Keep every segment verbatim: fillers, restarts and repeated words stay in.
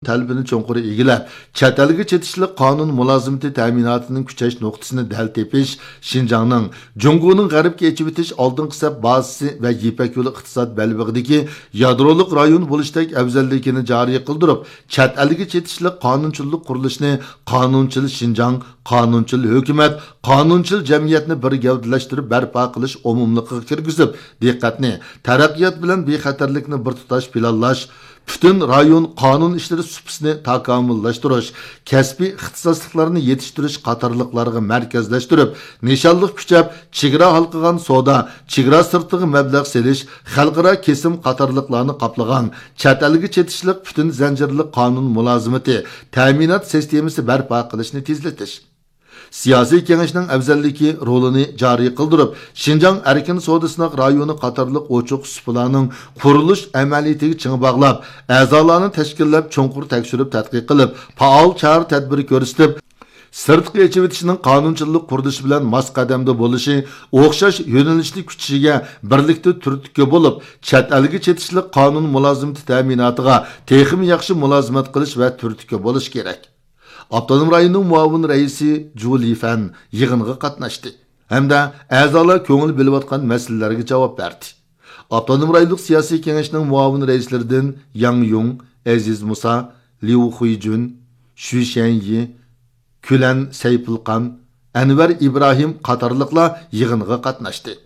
تەلىپىنى چوڭقۇر ئىگىلەپ، چەت ئەلگە چېتىشلىق قانۇن مۇلازىمىتى تەمىناتىنىڭ كۈچەش نۇقتىسىنى دەل تېپىش، شىنجاڭنىڭ جۇڭگونىڭ غەربكە ئېچىۋېتىش ئالدىنقى سەپ بازىسى ۋە يىپەك يولى ئىقتىساد بەلبېغىدىكى يادرولۇق رايون بولۇشتەك ئەۋزەللىكىنى جارى قىلدۇرۇپ، چەت ئەلگە چېتىشلىق قانۇنچىللىق قۇرۇلۇشىنى قانۇنچىل شىنجاڭ، قانۇنچىل ھۆكۈمەت، قانۇنچىل جەمئىيەتنى بىر گەۋدىلەشتۈرۈپ بەرپا قىلىش ئومۇملۇقىغا كىرگۈزۈپ، دىققەتنى تەرەققىيات بىلەن بىخەتەرلىكنى بىر تۇتاش پىلانلاش، پۈتۈن رايون قانۇن ئىشلىرى سۇپىسىنى تاكامۇللاشتۇرۇش، كەسپىي ئىختىساسلىقلارنى يېتىشتۈرۈش قاتارلىقلارغا مەركەزلەشتۈرۈپ، نىشانلىق كۈچەپ، چېگرا ھالقىغان سودا، چېگرا سىرتىغا مەبلەغ سېلىش، خەلقئارا كېسىم قاتارلىقلارنى قاپلىغان چەت ئەلگە چېتىشلىق پۈتۈن زەنجىرلىك قانۇن مۇلازىمىتى تەمىنات سىستېمىسى بەرپا قىلىشنى تېزلىتىش. سىياسىي كېڭەشنىڭ ئەۋزەللىكى رولىنى جارى قىلدۇرۇپ، شىنجاڭ ئەركىن سودا سىناق رايونى قاتارلىق ئوچۇق سۇپىلارنىڭ قۇرۇلۇش ئەمەلىيىتىگە چىڭ باغلاپ، ئەزالارنى تەشكىللەپ، چوڭقۇر تەكشۈرۈپ تەتقىق قىلىپ، پائال چارە تەدبىر كۆرسىتىپ، سىرتقا ئېچىۋېتىشنىڭ قانۇنچىللىق قۇرۇلۇشى بىلەن ماس قەدەمدە بولۇشى، ئوخشاش يۆنىلىشتە كۈچىشىگە بىرلىكتە تۈرتكە بولۇپ، چەت ئەلگە چېتىشلىق قانۇن مۇلازىمىتى تەمىناتىغا تېخىمۇ ياخشى مۇلازىمەت قىلىش ۋە تۈرتكە بولۇش كېرەك. ئاپتونوم رايوننىڭ مۇئاۋىن رەئىسى جۇ لىفەن يىغىنغا قاتناشتى ھەمدە ئەزالار كۆڭۈل بۆلۈۋاتقان مەسىلىلەرگە جاۋاب بەردى. ئاپتونوم رايونلۇق سىياسىي كېڭەشنىڭ مۇئاۋىن رەئىسلىرىدىن ياڭ يۇڭ، ئەزىز مۇسا، ليۇ خۇيجۈن، شۈ شيەنيى، كۈلەن سەيپۇلقان، ئەنۋەر ئىبراھىم قاتارلىقلار يىغىنغا قاتناشتى.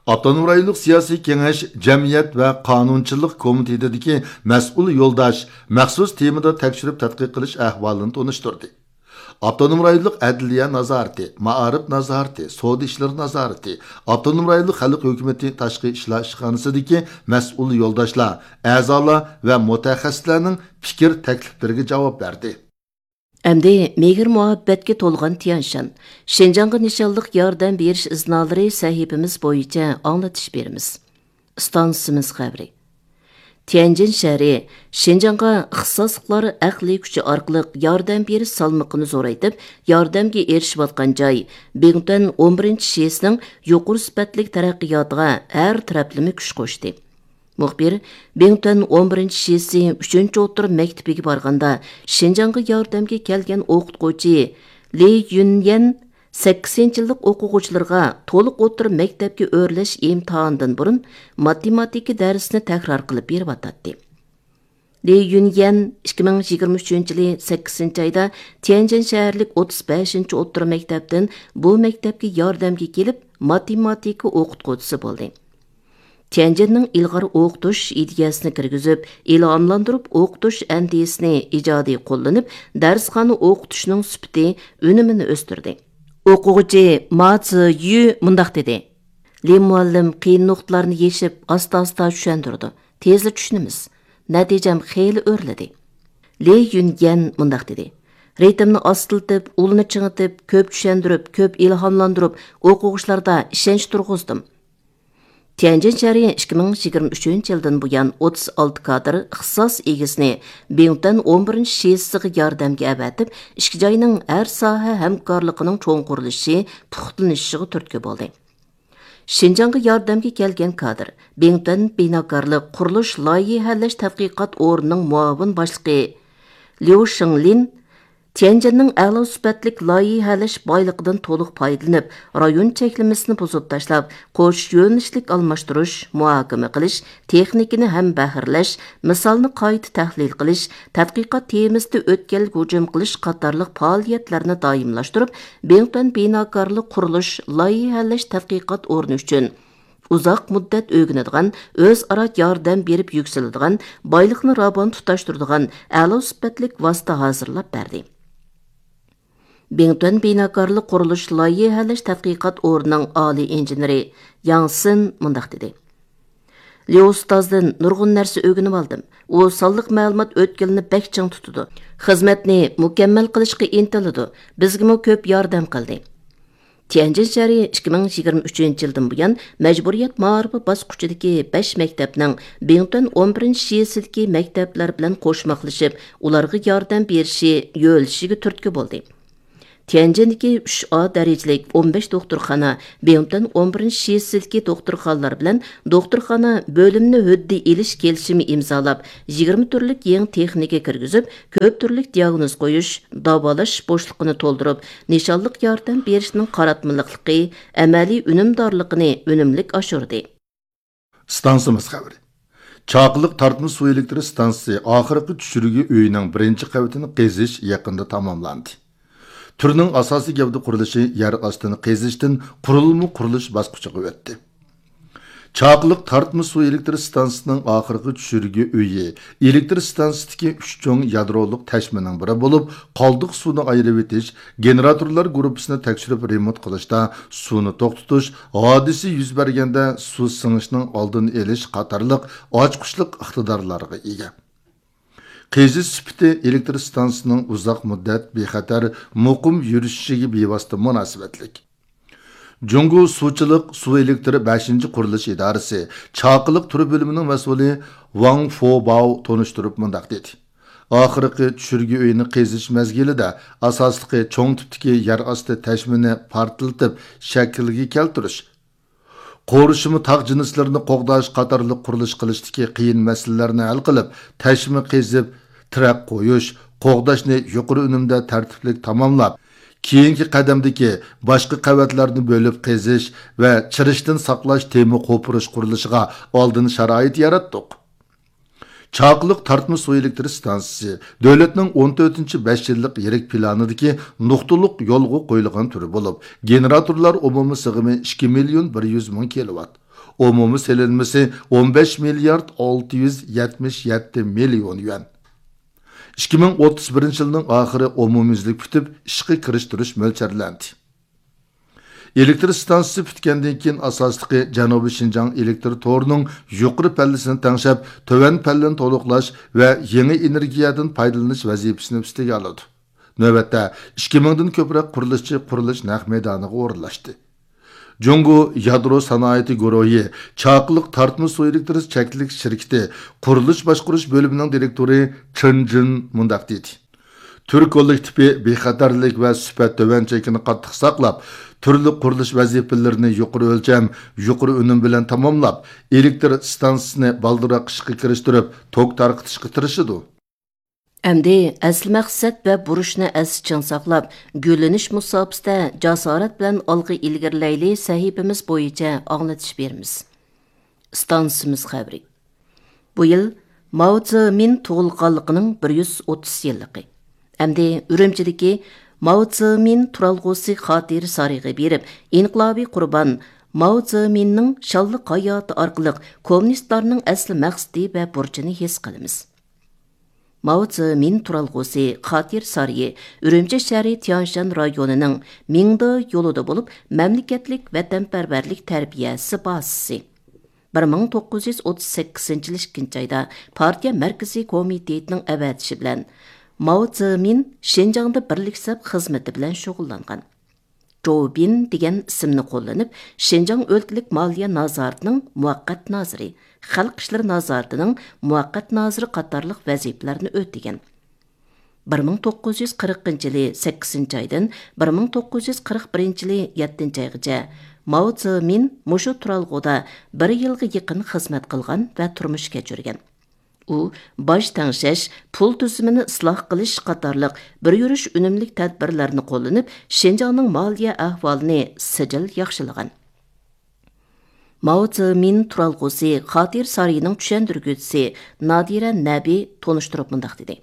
ئاپتونوم رايونلۇق سىياسىي كېڭەش جەمئىيەت ۋە قانۇنچىلىق كومىتېتىدىكى مەسئۇل يولداش مەخسۇس تېمىدا تەكشۈرۈپ تەتقىق قىلىش ئەھۋالىنى تونۇشتۇردى. ئاپتونوم رايونلۇق ئەدلىيە نازارىتى، مائارىپ نازارىتى، سودا ئىشلىرى نازارىتى، ئاپتونوم رايونلۇق خەلق ھۆكۈمىتى تاشقى ئىشلار ئىشخانىسىدىكى مەسئۇل يولداشلار، ئەزالار ۋە مۇتەخەسسىسلەرنىڭ پىكىر تەكلىپلىرىگە جاۋاب بەردى. ئەمدى مېھىر-مۇھەببەتكە تولغان تيەنشان، شىنجاڭغا نىشانلىق ياردەم بېرىش ئىزنالىرى سەھىپىمىز بويىچە ئاڭلىتىش بېرىمىز. ئىستانسىمىز خەۋىرى. تيەنجىن شەھىرى شىنجاڭغا ئىختىساسلىقلار ئەقلىي كۈچى ئارقىلىق ياردەم بېرىش سالمىقىنى زورايتىپ، ياردەمگە ئېرىشىۋاتقان جاي، بىڭتۈەن ئون بىرىنچى شىسىنىڭ يۇقىرى سۈپەتلىك تەرەققىياتىغا ھەر تەرەپلىمە كۈچ قوشتى. مۇخبىر بىڭتۈەن ئون بىرىنچى شىسى ئۈچىنچى ئوتتۇرا مەكتىپىگە بارغاندا، شىنجاڭغا ياردەمگە كەلگەن ئوقۇتقۇچى لى يۈنيەن سەككىزىنچى يىللىق ئوقۇغۇچىلىرىغا تولۇق ئوتتۇرا مەكتەپكە ئۆرلەش ئىمتىھانىدىن بۇرۇن ماتېماتىكا دەرسىنى تەكرار قىلىپ بېرىۋاتاتتى. لى يۈنيەن ئىككى مىڭ يىگىرمە ئۈچىنچى يىلى سەككىزىنچى ئايدا تيەنجىن شەھەرلىك ئوتتۇز بەشىنچى ئوتتۇرا مەكتەپتىن بۇ مەكتەپكە ياردەمگە كېلىپ، ماتېماتىكا ئوقۇتقۇچىسى بولدى. تيەنجىننىڭ ئىلغار ئوقۇتۇش ئىدىيەسىنى كىرگۈزۈپ، ئىلھاملاندۇرۇپ ئوقۇتۇش ئەندىزىسىنى ئىجادىي قوللىنىپ، دەرسخانا ئوقۇتۇشنىڭ سۈپىتى، ئۈنۈمىنى ئۆستۈردى. ئوقۇغۇچى ما سى يۈ مۇنداق دېدى: لى مۇئەللىم قىيىن نۇقتىلارنى يېشىپ، ئاستا-ئاستا چۈشەندۈرىدۇ. تېزلا چۈشىنىمىز. نەتىجەم خېلى ئۆرلىدى. لى يۈنيەن مۇنداق دېدى: رىتىمنى ئاستىلىتىپ، ئۇلنى چىڭىتىپ، كۆپ چۈشەندۈرۈپ، كۆپ ئىلھاملاندۇرۇپ، ئوقۇغۇچىلاردا ئىشەنچ تۇرغۇزدۇم. تيەنجىن شەھىرى ئىككى مىڭ يىگىرمە ئۈچىنچى يىلدىن بۇيان ئوتتۇز ئالتە كادىر ئىختىساس ئىگىسىنى بىڭتۈەن ئون بىرىنچى شىسىغا ياردەمگە ئەۋەتىپ، ئىككى جاينىڭ ھەر ساھە ھەمكارلىقىنىڭ چوڭقۇرلىشىشى، پۇختىلىنىشىغا تۈرتكە بولدى. شىنجاڭغا ياردەمگە كەلگەن كادىر، بىڭتۈەن بىناكارلىق قۇرۇلۇش لايىھەلەش تەتقىقات ئورنىنىڭ مۇئاۋىن باشلىقى ليۇ شېڭلىن، تيەنجىننىڭ ئەلا سۈپەتلىك لايىھەلەش بايلىقىدىن تولۇق پايدىلىنىپ، رايون چەكلىمىسىنى بۇزۇپ تاشلاپ، قوش يۆنىلىشلىك ئالماشتۇرۇش، مۇھاكىمە قىلىش، تېخنىكىنى ھەمبەھىرلەش، مىسالنى قايتا تەھلىل قىلىش، تەتقىقات تېمىسىدا ئۆتكەلگە ھۇجۇم قىلىش قاتارلىق پائالىيەتلەرنى دائىملاشتۇرۇپ، بىڭتۈەن بىناكارلىق قۇرۇلۇش لايىھەلەش تەتقىقات ئورنى ئۈچۈن ئۇزاق مۇددەت ئۆگىنىدىغان، ئۆزئارا ياردەم بېرىپ يۈكسىلىدىغان، بايلىقنى راۋان تۇتاشتۇرىدىغان ئەلا سۈپەتلىك ۋاسىتە ھازىرلاپ بەردى. بىڭتۈەن بىناكارلىق قۇرۇلۇش لايىھەلەش تەتقىقات ئورنىنىڭ ئالىي ئىنژېنېرى ياڭ سىن مۇنداق دېدى: ليۇ ئۇستازدىن نۇرغۇن نەرسە ئۆگىنىۋالدىم. ئۇ سانلىق مەلۇمات ئۆتكىلىنى بەك چىڭ تۇتىدۇ. خىزمەتنى مۇكەممەل قىلىشقا ئىنتىلىدۇ. بىزگىمۇ كۆپ ياردەم قىلدى. تيەنجىن شەھىرى ئىككى مىڭ يىگىرمە ئۈچىنچى يىلدىن بۇيان مەجبۇرىيەت مائارىپى باسقۇچىدىكى بەش مەكتەپنىڭ بىڭتۈەن ئون بىرىنچى شىسىدىكى مەكتەپلەر بىلەن قوشماقلىشىپ، ئۇلارغا ياردەم بېرىشى، يۆلىشىگە تۈرتكە بولدى. تيەنجىندىكى ئۈچ ئا دەرىجىلىك ئون بەش دوختۇرخانا، بىڭتۈەن ئون بىرىنچى شىسىدىكى دوختۇرخانىلار بىلەن دوختۇرخانا بۆلۈمنى ھۆددە ئېلىش كېلىشىمى ئىمزالاپ، يىگىرمە تۈرلۈك يېڭى تېخنىكا كىرگۈزۈپ، كۆپ تۈرلۈك دىياگنوز قويۇش، داۋالاش بوشلۇقىنى تولدۇرۇپ، نىشانلىق ياردەم بېرىشنىڭ قاراتمىلىقلىقى، ئەمەلىي ئۈنۈمدارلىقىنى ئۈنۈملۈك ئاشۇردى. ئىستانسىمىز خەۋىرى. چاقىلىق تارتما سۇ ئېلېكتر ئىستانسىسى ئاخىرقى چۈشۈرگۈ ئۆيىنىڭ بىرىنچى قەۋىتىنى قېزىش يېقىندا تاماملاندى. تۈرنىڭ ئاساسىي گەۋدە قۇرۇلۇشى يەر ئاستىنى قېزىشتىن قۇرۇلما قۇرۇلۇش باسقۇچىغا ئۆتتى. چاقىلىق تارتما سۇ ئېلېكتر ئىستانسىسىنىڭ ئاخىرقى چۈشۈرگۈ ئۆيى ئېلېكتر ئىستانسىسىدىكى ئۈچ چوڭ يادرولۇق تەشمىنىڭ بىرى بولۇپ، قالدۇق سۇنى ئايرىۋېتىش، گېنېراتورلار گۇرۇپپىسىنى تەكشۈرۈپ رېمونت قىلىشتا، سۇنى توختىتىش، ھادىسە يۈز بەرگەندە سۇ سىڭىشنىڭ ئالدىنى ئېلىش قاتارلىق ئاچقۇچلۇق ئىقتىدارلارغا ئىگە. قېزىش سۈپىتى ئېلېكتر ئىستانسىسىنىڭ ئۇزاق مۇددەت بىخەتەر، مۇقىم يۈرۈشۈشىگە بىۋاسىتە مۇناسىۋەتلىك. جۇڭگو سۇچىلىق سۇ ئېلېكتر بەشىنچى قۇرۇلۇش ئىدارىسى چاقىلىق تۈر بۆلۈمىنىڭ مەسئۇلى ۋاڭ فوباۋ تونۇشتۇرۇپ مۇنداق دېدى: ئاخىرقى چۈشۈرگۈ ئۆيىنى قېزىش مەزگىلىدە ئاساسلىقى چوڭ تىپتىكى يەر ئاستى تەشمىنى پارتلىتىپ شەكىلگە كەلتۈرۈش، قورشىما تاغ جىنسلىرىنى قوغداش قاتارلىق قۇرۇلۇش قىلىشتىكى قىيىن مەسىلىلەرنى ھەل قىلىپ، تەشمە قېزىپ، تىرەك قويۇش، قوغداشنى يۇقىرى ئۈنۈمدە تەرتىپلىك تاماملاپ، كېيىنكى قەدەمدىكى باشقا قەۋەتلەرنى بۆلۈپ قېزىش ۋە چىرىشتىن ساقلاش تېما قوپۇرۇش قۇرۇلۇشىغا ئالدىن شارائىت ياراتتۇق. چاقىلىق تارتما سۇ ئېلېكتر ئىستانسىسى دۆلەتنىڭ ئون تۆتىنچى بەش يىللىق يىرىك پىلانىدىكى نۇقتىلىق يولغا قويۇلغان تۈرى بولۇپ، گېنېراتورلار ئومۇمىي سىغىمى ئىككى مىليون بىر يۈز مىڭ كىلوۋات، ئومۇمىي سېلىنمىسى ئون بەش مىليارد ئالتە يۈز يەتمىش يەتتە مىليون يۈەن. ئىككى مىڭ ئوتتۇز بىرىنچى يىلنىڭ ئاخىرى ئومۇميۈزلۈك پۈتۈپ، ئىشقا كىرىشتۈرۈش مۆلچەرلەندى. ئېلېكتر ئىستانسىسى پۈتكەندىن كېيىن، ئاساسلىقى جەنۇبىي شىنجاڭ ئېلېكتر تورىنىڭ يۇقىرى پەللىسىنى تەڭشەپ، تۆۋەن پەللىنى تولۇقلاش ۋە يېڭى ئېنېرگىيەدىن پايدىلىنىش ۋەزىپىسىنى ئۈستىگە ئالىدۇ. نۆۋەتتە ئىككى مىڭدىن كۆپرەك قۇرۇلۇشچى قۇرۇلۇش نەق مەيدانىغا ئورۇنلاشتى. جۇڭگو يادرو سانائىتى گۇرۇھى چاقىلىق تارتما سۇ ئېلېكتر چەكلىك شىركىتى قۇرۇلۇش باشقۇرۇش بۆلۈمىنىڭ دىرېكتورى چېن جىن مۇنداق دېدى: تۈر كوللېكتىپى بىخەتەرلىك ۋە سۈپەت تۆۋەن چېكىنى قاتتىق ساقلاپ، تۈرلۈك قۇرۇلۇش ۋەزىپىلىرىنى يۇقىرى ئۆلچەم، يۇقىرى ئۈنۈم بىلەن تاماملاپ، ئېلېكتر ئىستانسىسىنى بالدۇرراق ئىشقا كىرىشتۈرۈپ، توك تارقىتىشقا تىرىشىدۇ. ئەمدى ئەسلى مەقسەت ۋە بۇرچنى ئەستە چىڭ ساقلاپ، گۈللىنىش مۇساپىسىدە جاسارەت بىلەن ئالغا ئىلگىرىلەيلى سەھىپىمىز بويىچە ئاڭلىتىش بېرىمىز. ئىستانسىمىز خەۋىرى. بۇ يىل ماۋ زېمىن تۇغۇلغانلىقىنىڭ بىر يۈز ئوتتۇز يىللىقى. ئەمدى ئۈرۈمچىدىكى ماۋ زېمىن تۇرالغۇسى خاتىرە سارىيىغا بېرىپ، ئىنقىلابىي قۇربان ماۋ زېمىننىڭ شانلىق ھاياتى ئارقىلىق كوممۇنىستلارنىڭ ئەسلى مەقسىتى ۋە بۇرچىنى ھېس قىلىمىز. ماۋ زېمىن تۇرالغۇسى خاتىرە سارىيى ئۈرۈمچى شەھىرى تيانشان رايونىنىڭ مىڭدې يولىدا بولۇپ، مەملىكەتلىك ۋەتەنپەرۋەرلىك تەربىيەسى بازىسى. بىر مىڭ توققۇز يۈز ئوتتۇز سەككىزىنچى يىل ئىككىنچى ئايدا پارتىيە مەركىزىي كومىتېتىنىڭ ئەۋەتىشى بىلەن ماۋ زېمىن شىنجاڭدا بىرلىك سەپ خىزمىتى بىلەن شۇغۇللانغان. جوۋ بىن دېگەن ئىسىمنى قوللىنىپ، شىنجاڭ ئۆلكىلىك مالىيە نازارىتىنىڭ مۇۋەققەت نازىرى، خەلق ئىشلىرى نازارىتىنىڭ مۇۋەققەت نازىرى قاتارلىق ۋەزىپىلەرنى ئۆتىگەن. بىر مىڭ توققۇز يۈز قىرىقىنچى يىلى سەككىزىنچى ئايدىن بىر مىڭ توققۇز يۈز قىرىق بىرىنچى يىلى يەتتىنچى ئايغىچە ماۋ زېمىن مۇشۇ تۇرالغۇدا بىر يىلغا يېقىن خىزمەت قىلغان ۋە تۇرمۇش كەچۈرگەن. ئۇ باج تەڭشەش، پۇل تۈزۈمىنى ئىسلاھ قىلىش قاتارلىق بىر يۈرۈش ئۈنۈملۈك تەدبىرلەرنى قوللىنىپ، شىنجاڭنىڭ مالىيە ئەھۋالىنى سىجىل ياخشىلىغان. ماۋ زېمىن تۇرالغۇسى خاتىرە سارىيىنىڭ چۈشەندۈرگۈچىسى نادىرە نەبى تونۇشتۇرۇپ مۇنداق دېدى: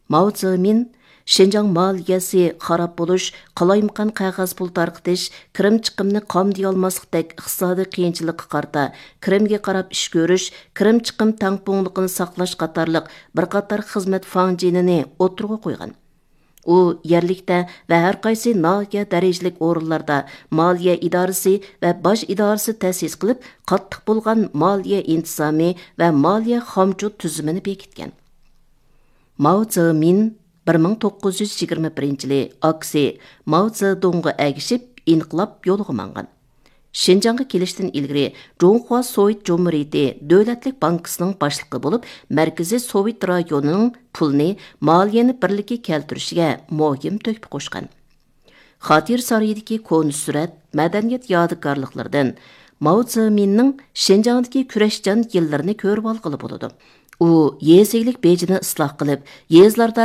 ماۋ زېمىن شىنجاڭ مالىيەسى خاراب بولۇش، قالايمىقان قەغەز پۇل تارقىتىش، كىرىم چىقىمنى قامدىيالماسلىقتەك ئىقتىسادىي قىيىنچىلىققا قارىتا، كىرىمگە قاراپ ئىش كۆرۈش، كىرىم چىقىم تەڭپۇڭلۇقىنى ساقلاش قاتارلىق بىر قاتار خىزمەت فاڭجېنىنى ئوتتۇرىغا قويغان. ئۇ يەرلىكتە ۋە ھەر قايسى ناھىيە دەرىجىلىك ئورۇنلاردا مالىيە ئىدارىسى ۋە باج ئىدارىسى تەسىس قىلىپ، قاتتىق بولغان مالىيە ئىنتىزامى ۋە مالىيە خامچوت تۈزۈمىنى بېكىتكەن. ماۋ زېمىن بىر مىڭ توققۇز يۈز يىگىرمە بىرىنچى يىلى ئاكىسى ماۋ زېدۇڭغا ئەگىشىپ ئىنقىلاب يولىغا ماڭغان. شىنجاڭغا كېلىشتىن ئىلگىرى جۇڭخۇا سوۋېت جۇمھۇرىيىتى دۆلەتلىك بانكىسىنىڭ باشلىقى بولۇپ، مەركىزىي سوۋېت رايونىنىڭ پۇلنى مالىيەنى بىرلىككە كەلتۈرۈشىگە مۇھىم تۆھپە قوشقان. خاتىرە سارىيىدىكى كونا سۈرەت، مەدەنىيەت يادىكارلىقلىرىدىن ماۋ زېمىننىڭ شىنجاڭدىكى كۈرەشچان يىللىرىنى كۆرۈپ ئالغىلى بولىدۇ. ئۇ يېزا ئىگىلىك بېجىنى ئىسلاھ قىلىپ، يېزىلاردا